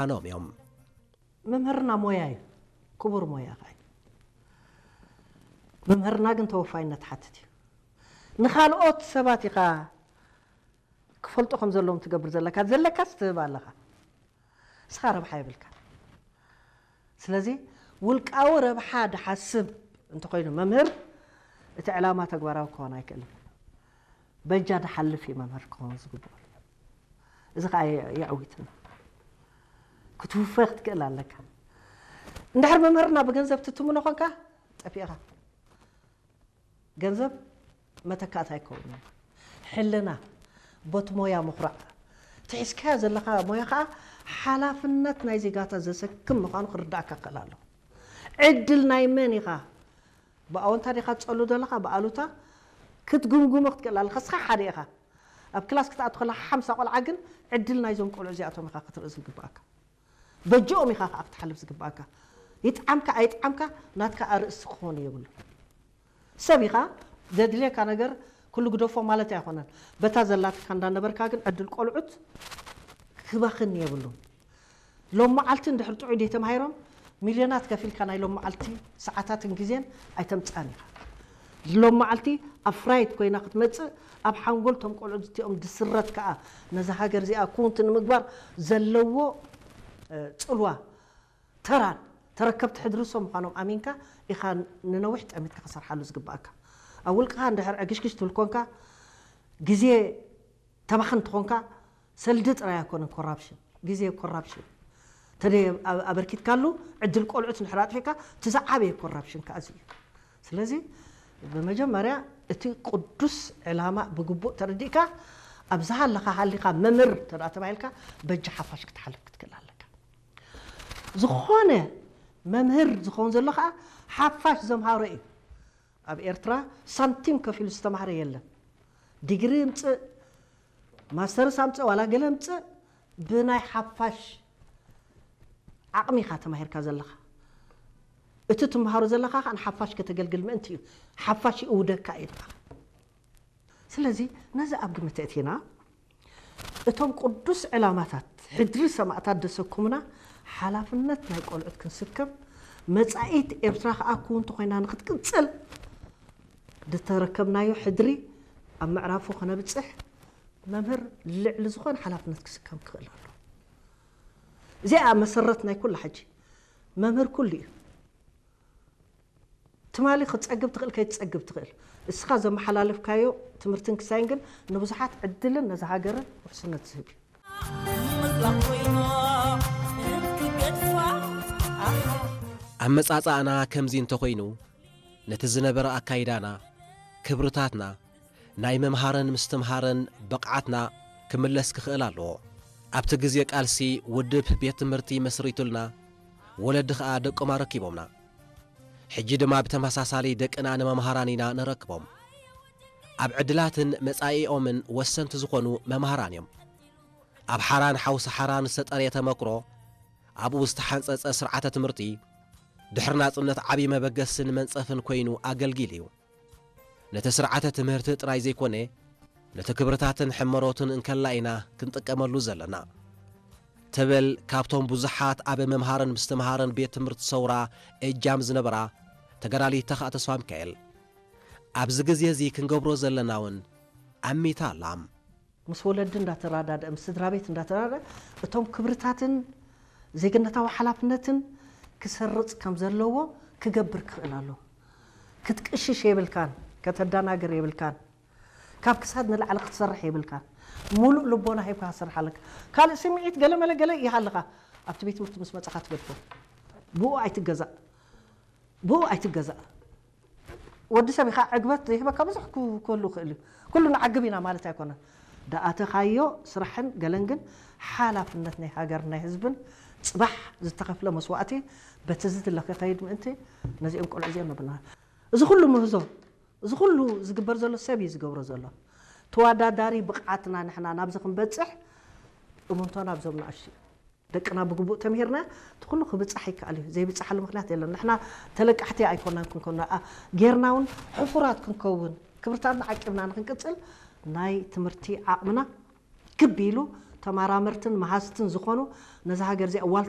ምዃኖም እዮም። መምህርና ሞያ እዩ፣ ክቡር ሞያ ኸዓ እዩ። መምህርና ግን ተወፋይነት ሓትት እዩ። ንኻልኦት ሰባት ኢኻ ክፈልጡ ከም ዘለዎም ትገብር ዘለካ፣ ዘለካስ ትህብ ኣለኻ። እስኻ ረብሓ የብልካ። ስለዚ ውልቃዊ ረብሓ ድሓስብ እንተኾይኑ መምህር፣ እቲ ዕላማ ተግባራዊ ክኾን ኣይክእልን። በጃ ድሓልፍ እዩ መምህር ክኸውን ዝግብኦ። እዚ ከዓ የዕዊትና ክትውፈ ክትክእል ኣለካ። እንድሕር መምህርና ብገንዘብ ትትምኖ ኾንካ ጠፊእኻ። ገንዘብ መተካእታ ኣይከውንን። ሕልና፣ ቦት ሞያ ምኹራዕ፣ ትሒዝካዮ ዘለኻ ሞያ ከዓ ሓላፍነት ናይ ዜጋታት ዘሰክም ምዃኑ ክርዳእካ ክኽእል ኣለዎ። ዕድል ናይ መን ኢኻ? ብኣወንታ ዲኻ ትጸሉ ዘለኻ? ብኣሉታ ክትግምግሞ ክትክእል ኣለኻ። እስኻ ሓደ ኢኻ። ኣብ ክላስ ክትኣቱ ከለኻ ሓምሳ ቆልዓ ግን ዕድል ናይዞም ቆልዑ እዚኣቶም ኢኻ ክትርኢ ዝግብኣካ። በጅኦም ኢኻ ከዓ ክትሓልፍ ዝግብኣካ። ይጥዓምካ ኣይጥዓምካ ናትካ ኣርእስቲ ክኾን የብሉ። ሰብ ኢኻ፣ ዘድልየካ ነገር ኩሉ ግደፎ ማለት ኣይኮነን። በታ ዘላትካ እንዳነበርካ ግን ዕድል ቆልዑት ክባኽን የብሉን። ሎም መዓልቲ እንድሕር ጥዑይ ደይ ተማሂሮም ሚልዮናት ከፊልካ ናይ ሎም መዓልቲ ሰዓታትን ግዜን ኣይተምጻን ኢኻ። ሎም መዓልቲ ኣፍራይት ኮይና ክትመጽእ ኣብ ሓንጎል ቶም ቆልዑ እዚኦም ድስረት ከኣ ነዛ ሃገር እዚኣ ኩውንቲ ንምግባር ዘለዎ ጽልዋ ተራን ተረከብቲ ሕድሪ ሶም ምዃኖም ኣሚንካ ኢኻ ንነዊሕ ጠሚትካ ክሰርሓሉ ዝግባኣካ። ኣብ ውልቅኻ እንድሕር ዕግሽግሽ ትብል ኮንካ ግዜ ተባኽን ትኾንካ ሰልዲ ጥራይ ኣይኮነን ኮራፕሽን፣ ግዜ ኮራፕሽን። ተደ ኣበርኪትካሉ ዕድል ቆልዑት እንድሕር ኣጥፊእካ እቲ ዝዓበየ ኮራፕሽን ከኣ እዚ እዩ። ስለዚ ብመጀመርያ እቲ ቅዱስ ዕላማ ብግቡእ ተረዲእካ ኣብ ዝሃለኻ ሃሊኻ መምህር ተደኣ ተባሂልካ በጃ ሓፋሽ ክትሓልፍ ክትክእል ኣለካ። ዝኾነ መምህር ዝኸውን ዘሎ ከዓ ሓፋሽ ዘምሃሮ እዩ። ኣብ ኤርትራ ሳንቲም ከፊሉ ዝተማህረ የለን። ዲግሪ ምጽእ፣ ማስተርስ ኣምጽእ ዋላ ገለ ምጽእ ብናይ ሓፋሽ ዓቕሚ ኢኻ ተማሂርካ ዘለኻ። እቲ ትምሃሮ ዘለኻ ከዓ ንሓፋሽ ከተገልግል ምእንቲ እዩ። ሓፋሽ ይእውደካ እዩ። ስለዚ ነዚ ኣብ ግምት እቲና እቶም ቅዱስ ዕላማታት ሕድሪ ሰማእታት ደሰኩምና ሓላፍነት ናይ ቆልዑት ክንስከም መጻኢት ኤርትራ ከዓ ክውንቲ ኮይና ንክትቅጽል ዝተረከብናዮ ሕድሪ ኣብ ምዕራፉ ክነብጽሕ መምህር ልዕሊ ዝኾነ ሓላፍነት ክስከም ክኽእል ኣሎ። እዚኣ መሰረት ናይ ኩላ ሕጂ መምህር ኩሉ እዩ። ትማሊ ክትጸግብ ትኽእል ከይትጸግብ ትኽእል። እስኻ ዘመሓላለፍካዮ ትምህርትን ክሳይን ግን ንብዙሓት ዕድልን ነዛ ሃገርን ውሕስነት ዝህብ እዩ። ኣመጻጽኣና ከምዚ እንተኾይኑ ነቲ ዝነበረ ኣካይዳና፣ ክብርታትና፣ ናይ መምሃርን ምስትምሃርን ብቕዓትና ክምለስ ክኽእል ኣለዎ። ኣብቲ ግዜ ቃልሲ ውድብ ቤት ትምህርቲ መስሪቱልና፣ ወለዲ ኸኣ ደቆም ኣረኪቦምና። ሕጂ ድማ ብተመሳሳሊ ደቅና ንመምሃራን ኢና ነረክቦም። ኣብ ዕድላትን መጻኢኦምን ወሰንቲ ዝኾኑ መምሃራን እዮም። ኣብ ሓራን ሓውሲ ሓራን ዝተጠርየ ተመክሮ፣ ኣብኡ ዝተሓንጸጸ ስርዓተ ትምህርቲ፣ ድሕሪ ናጽነት ዓቢ መበገስን መንጸፍን ኮይኑ ኣገልጊሉ እዩ። ነቲ ስርዓተ ትምህርቲ ጥራይ ዘይኮነ፣ ነቲ ክብርታትን ሕመሮትን እንከላ ኢና ክንጥቀመሉ ዘለና። ትብል ካብቶም ብዙሓት ኣብ ምምሃርን ምስትምሃርን ቤት ትምህርቲ ሰውራ እጃም ዝነበራ ተጋዳሊት ተኽኣ ተስፋሚካኤል። ኣብዚ ግዜ እዚ ክንገብሮ ዘለና እውን ኣሚታ ኣላ። ምስ ወለዲ እንዳተራዳድአ፣ ምስ ስድራ ቤት እንዳተራዳድአ፣ እቶም ክብርታትን ዜግነታዊ ሓላፍነትን ክሰርጽ ከም ዘለዎ ክገብር ክኽእል ኣለዎ። ክትቅሽሽ የብልካን፣ ከተዳናግር የብልካን። ካብ ክሳድ ንላዕሊ ክትሰርሕ የብልካን። ሙሉእ ልቦና ሂብካ ክትሰርሕ ኣለካ። ካልእ ስምዒት ገለ መለ ገለ ይሃልኻ፣ ኣብቲ ቤት ትምህርቲ ምስ መጻኻ ትገድፎ። ብኡ ኣይትገዛእ። ብኡ ኣይትገዛእ። ወዲ ሰብ ኢኻ፣ ዕግበት ዘይህበካ ብዙሕ ክህሉ ይኽእል እዩ። ኩሉ ንዓግብ ኢና ማለት ኣይኮነን። ደኣተኻዮ ስራሕን ገለን ግን ሓላፍነት ናይ ሃገር ናይ ህዝብን ጽባሕ ዝተኸፍለ መስዋእቲ በቲ ዝድለ ክኸይድ ምእንቲ ነዚኦም ቆልዑ እዚኦም ነብልና። እዚ ኩሉ ምህዞ፣ እዚ ኩሉ ዝግበር ዘሎ ሰብ እዩ ዝገብሮ ዘሎ። ተወዳዳሪ ብቕዓትና ንሕና ናብዚ ክንበጽሕ እምንቶና ኣብዞም ንኣሽቱ እዩ። ደቅና ብግቡእ ተምሂርና እቲ ኩሉ ክብጻሕ ይከኣል እዩ። ዘይብጻሓሉ ምኽንያት የለን። ንሕና ተለቃሕቲ ኣይኮናን ክንከውን፣ ጌርና እውን ሕፉራት ክንከውን፣ ክብርታትና ዓቂብና ንክንቅጽል ናይ ትምህርቲ ዓቕምና ክብ ኢሉ ተመራመርትን መሃዝትን ዝኾኑ ነዛ ሃገር እዚኣ ዋልታ